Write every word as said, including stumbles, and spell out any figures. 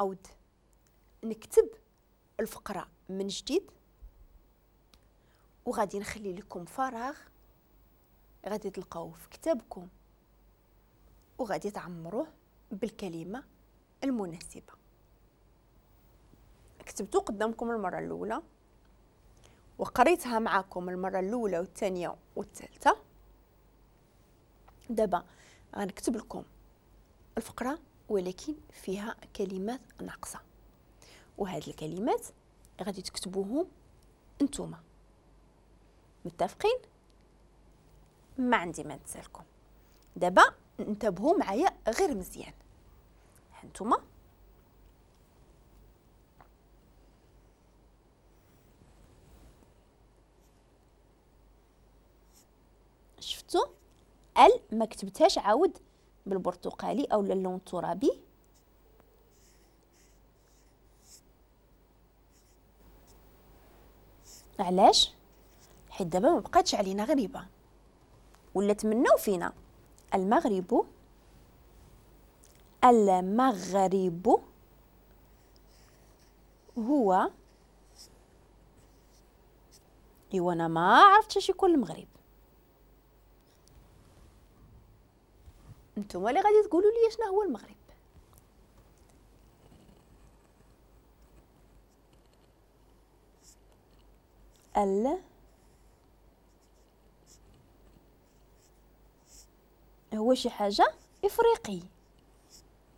نعاود نكتب الفقرة من جديد، وغادي نخلي لكم فراغ غادي تلقاوه في كتابكم وغادي تعمروه بالكلمة المناسبة. كتبتو قدامكم المرة الأولى وقريتها معكم المرة الأولى والثانية والثالثة. دابا غنكتب لكم الفقرة ولكن فيها كلمات ناقصة، وهاد الكلمات غادي تكتبوهم انتوما. متفقين؟ ما عندي ما نتسالكم. دابا انتبهوا معايا غير مزيان. هانتوما شفتوا ال ما كتبتهاش عاود بالبرتقالي او اللون الترابي. علاش؟ حيت دابا ما بقاتش علينا غريبة، ولا تمناو فينا. المغرب، المغرب هو، ايوا انا ما عرفتش اش يكون المغرب. نتوما اللي غادي تقولوا لي شنو هو المغرب. ال هو شي حاجة افريقي.